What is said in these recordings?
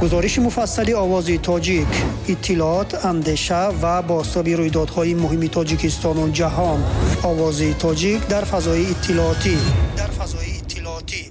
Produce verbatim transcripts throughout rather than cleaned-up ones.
Гузориши муфассали Овози Тоҷик, иттилоот, андеша ва бозтоби рӯйдодҳои муҳими Тоҷикистону ҷаҳон. Овози Тоҷик дар фазои иттилоотӣ. Дар фазои иттилоотӣ.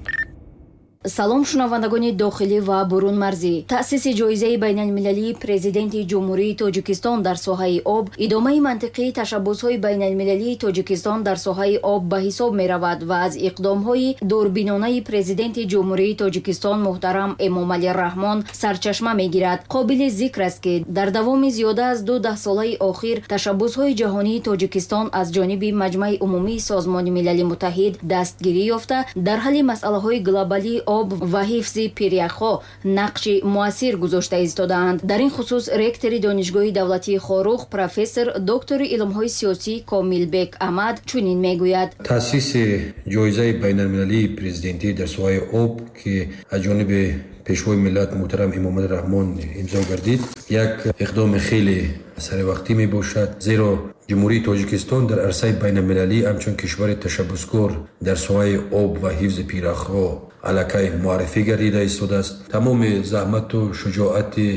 Салом, шунавандагони дохилӣ ва бурунмарзӣ. Таъсиси ҷоизаи байналмилалии Президенти Ҷумҳурии Тоҷикистон дар соҳаи об идомаи мантиқии ташаббусҳои байналмилалии Тоҷикистон дар соҳаи об ба ҳисоб меравад ва аз иқдомҳои дурбинонаи Президенти Ҷумҳурии Тоҷикистон муҳтарам Эмомалӣ Раҳмон сарчашма мегирад. Қобили зикр аст, ки дар давоми зиёда аз ду даҳсолаи охир ташаббусҳои ҷаҳонии Тоҷикистон аз ҷониби Маҷмаи Умумии Созмони Милали Муттаҳид дастгирӣ ёфта, дар ҳалли масъалаҳои глобалии об ва ҳифзи пиряхҳо нақши муассир гузошта истодаанд. Дар ин хусус ректори Донишгоҳи давлатии Хоруғ, профессор, доктори илмҳои сиёсӣ Комилбек Амад чунин мегӯяд: Таъсиси ҷоизаи байналмилалии президентӣ дар соҳаи об, ки аз ҷониби Пешвои миллат муҳтарам Эмомалӣ Раҳмон имзо гардид, як иқдоми хеле саривақтӣ мебошад, зеро Ҷумҳурии Тоҷикистон дар арсаи байналмилалӣ ҳамчун кишвари ташаббускор дар соҳаи об ва ҳифзи пиряхҳо аллакай муаррифӣ гардида истодааст. Тамоми заҳмату шуҷоати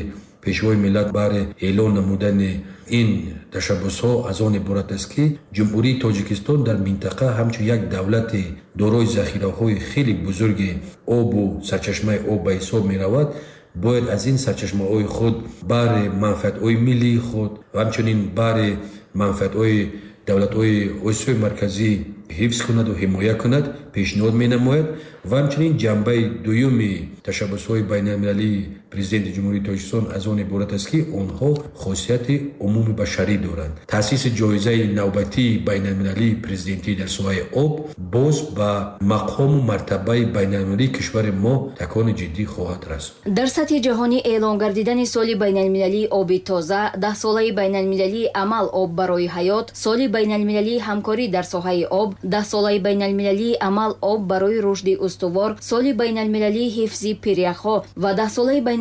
Пешвои миллат баҳри эълон намудани ин ташаббусҳо аз он иборат аст, ки Ҷумҳурии Тоҷикистон дар минтақа ҳамчун як давлати дорои захираҳои хеле бузурги обу сарчашмаи об ба ҳисоб меравад, бояд аз ин сарчашмаҳои худ баҳри манфиатҳои миллии худ ва ҳамчунин баҳри манфиатҳои давлатҳои Осиёи Марказӣ ҳифз кунаду ҳимоя кунад, пешниҳод менамояд. Ва ҳамчунин ҷанбаи дуюми ташаббусҳои байналмилалии Президенти Ҷумҳурии Тоҷикистон аз он иборат аст, ки онҳо хосияти умумибашарӣ доранд. Таъсиси ҷоизаи навбатии байналмилалии президентӣ дар соҳаи об боз ба мақому мартабаи байналмилалии кишвари мо такони ҷиддӣ хоҳад расонд. Дар сатҳи ҷаҳонӣ эълон гардидани соли байналмилалии оби тоза, даҳсолаи байналмилалии амал «Об барои ҳаёт», соли байналмилалии ҳамкорӣ дар соҳаи об, даҳсолаи байналмилалии амал «Об барои рушди устувор», соли байналмилалии ҳифзи пиряхҳо ва даҳсолаи байналмилалии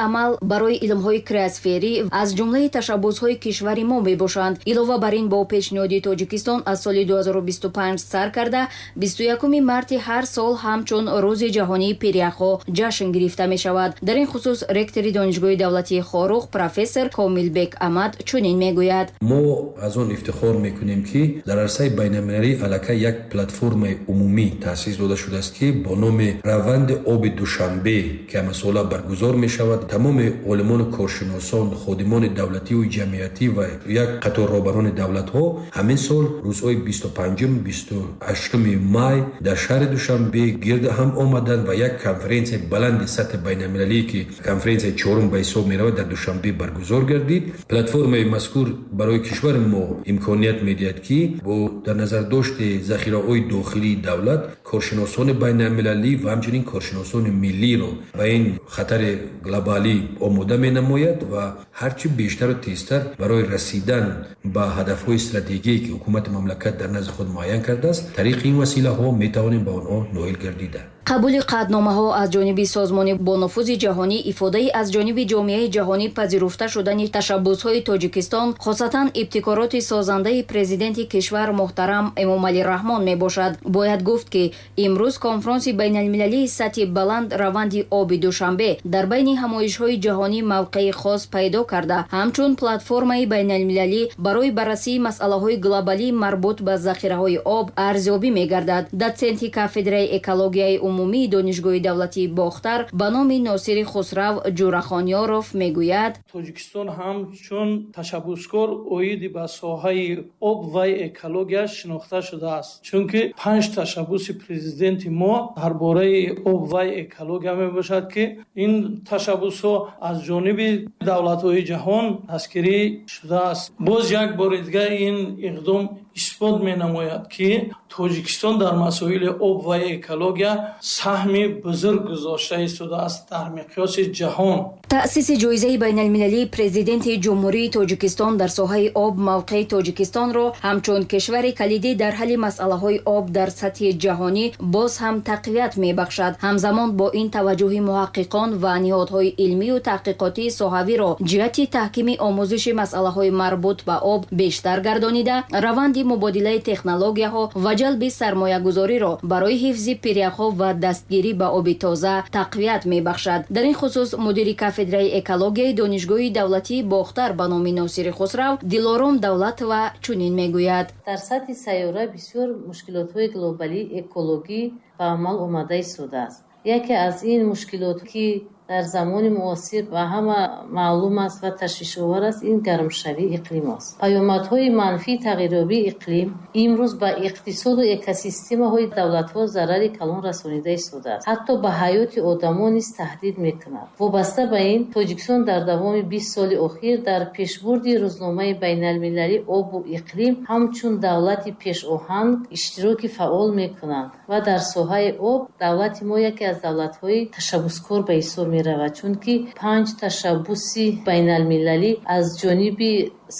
амал барои илмҳои криосферӣ аз ҷумлаи ташаббусҳои кишвари мо мебошанд. Илова бар ин, бо пешниҳоди Тоҷикистон аз соли ду ҳазору бисту панҷ сар карда, бисту якуми марти ҳар сол ҳамчун Рӯзи ҷаҳонии пиряхҳо ҷашн гирифта мешавад. Дар ин хусус ректори Донишгоҳи давлатии Хоруғ, профессор Комилбек Амад чунин мегӯяд: Мо аз он ифтихор мекунем, ки дар арсаи байналмилалӣ аллакай як платформаи умумӣ таъсис дода шудааст, ки бо номи Раванди оби Душанбе, ки ҳамасола баргузор мешавад. Тамоми олимону коршиносон, ходимони давлативу ҷамъиятӣ ва як қатор роҳбарони давлатҳо ҳамин сол рӯзҳои бисту панҷум, бисту ҳаштуми май дар шаҳри Душанбе гирд ҳам омаданд ва як конференсияи баланди сатҳи байналмилалӣ, ки конференсияи чорум ба ҳисоб меравад, дар Душанбе баргузор гардид. Платформаи мазкур барои кишвари мо имконият медиҳад, ки бо дар назардошти захираҳои дохилии давлат коршиносони байналмилалӣ ва ҳамчунин коршиносони миллиро ба ин хатари глобалӣ омода менамояд ва ҳарчи бештару тезтар барои расидан ба ҳадафҳои стратегие, ки ҳукумати мамлакат дар назди худ муайян кардааст, тариқи ин василаҳо метавонем ба онҳо ноил гардида. Қабули қатъномаҳо аз ҷониби созмони бонуфузи ҷаҳонӣ ифодаи аз ҷониби ҷомеаи ҷаҳонӣ пазируфта шудани ташаббусҳои Тоҷикистон, хосатан ибтикороти созандаи Президенти кишвар муҳтарам Эмомалӣ Раҳмон мебошад. Бояд гуфт, ки имрӯз конфронси байналмилалии сатҳи баланд «Раванди оби Душанбе» дар байни ҳамоишҳои ҷаҳонӣ мавқеи хос пайдо карда, ҳамчун платформаи байналмилалӣ барои баррасии масъалаҳои глобалӣ марбут ба захираҳои об арзёбӣ мегардад. Дотсенти кафедраи экологияи умумии Донишгоҳи давлатии Бохтар ба номи Носири Хусрав Ҷурахонёров мегӯяд: Тоҷикистон ҳамчун ташаббускор оиди ба соҳаи об ва экология шинохта шудааст, чунки панҷ ташаббуси президенти мо дар бораи об ва экология мебошад, ки ин ташаббусҳо аз ҷониби давлатҳои ҷаҳон дастгирӣ шудааст. Боз як бори дигар ин иқдом исбот менамояд, ки Тоҷикистон дар масоили об ва экология саҳми бузург гузошта истодааст дар миқёси ҷаҳон. Таъсиси ҷоизаи байналмилалии Президенти Ҷумҳурии Тоҷикистон дар соҳаи об мавқеи Тоҷикистонро ҳамчун кишвари калидӣ дар ҳалли масъалаҳои об дар сатҳи ҷаҳонӣ боз ҳам тақвият мебахшад. Ҳамзамон бо ин, таваҷҷӯҳи муҳаққиқон ва ниҳодҳои илмию таҳқиқотии соҳавиро ҷиҳати таҳкими омӯзиши масъалаҳои марбут ба об бештар гардонида, раванди мубодилаи технологияҳо ва ҷалби сармоягузориро барои ҳифзи пиряхҳо ва дастгирӣ ба оби тоза тақвият мебахшад. Дар ин хусус мудири кафедраи экологияи Донишгоҳи давлатии Бохтар ба номи Носири Хусрав Дилором Давлатова чунин мегӯяд. Дар сатҳи сайёра бисёр мушкилотҳои глобалии экологӣ ба амал омада истодааст. Яке аз ин мушкилот, ки дар замони муосир ба ҳама маълум аст ва ташвишовар аст, ин гармшавии иқлим аст. Паёмадҳои манфии тағйирёбии иқлим имрӯз ба иқтисоду экосистемаҳои давлатҳо зарари калон расонида истодааст, ҳатто ба ҳаёти одамон низ таҳдид мекунад. Вобаста ба ин, Тоҷикистон дар давоми бист соли охир дар пешбурди рӯзномаи байналмилалии обу иқлим ҳамчун давлати пешоҳанг иштироки фаъол мекунад ва дар соҳаи об давлати мо яке аз давлатҳои ташаббускор ба ҳисоб меравад, чунки панҷ ташаббуси байналмилалӣ аз ҷониби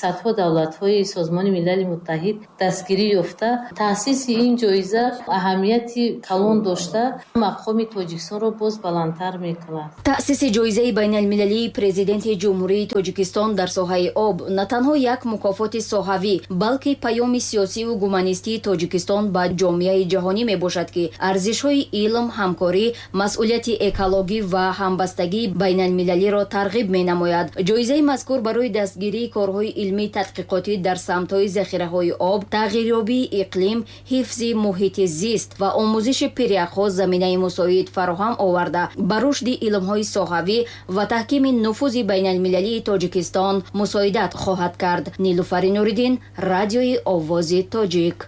садҳо давлатҳои Созмони Милали Муттаҳид дастгирӣ ёфта. Таъсиси ин ҷоиза аҳамияти калон дошта, мақоми Тоҷикистонро боз баландтар мекунад. Таъсиси ҷоизаи байналмилалии Президенти Ҷумҳурии Тоҷикистон дар соҳаи об на танҳо як мукофоти соҳавӣ, балки паёми сиёсиву гуманистии Тоҷикистон ба ҷомеаи ҷаҳонӣ мебошад, ки арзишҳои илм, ҳамкорӣ, масъулияти экологӣ ва ҳамбастагии байналмилалиро тарғиб менамояд. Ҷоизаи мазкур барои дастгирии корҳои илмии тадқиқотӣ дар самтҳои захираҳои об, тағйирёбии иқлим, ҳифзи муҳити зист ва омӯзиши пиряхҳо заминаи мусоид фароҳам оварда, ба рушди илмҳои соҳавӣ ва таҳкими нуфузи байналмилалии Тоҷикистон мусоидат хоҳад кард. Нилуфари Нуриддин, Радиои Овози Тоҷик.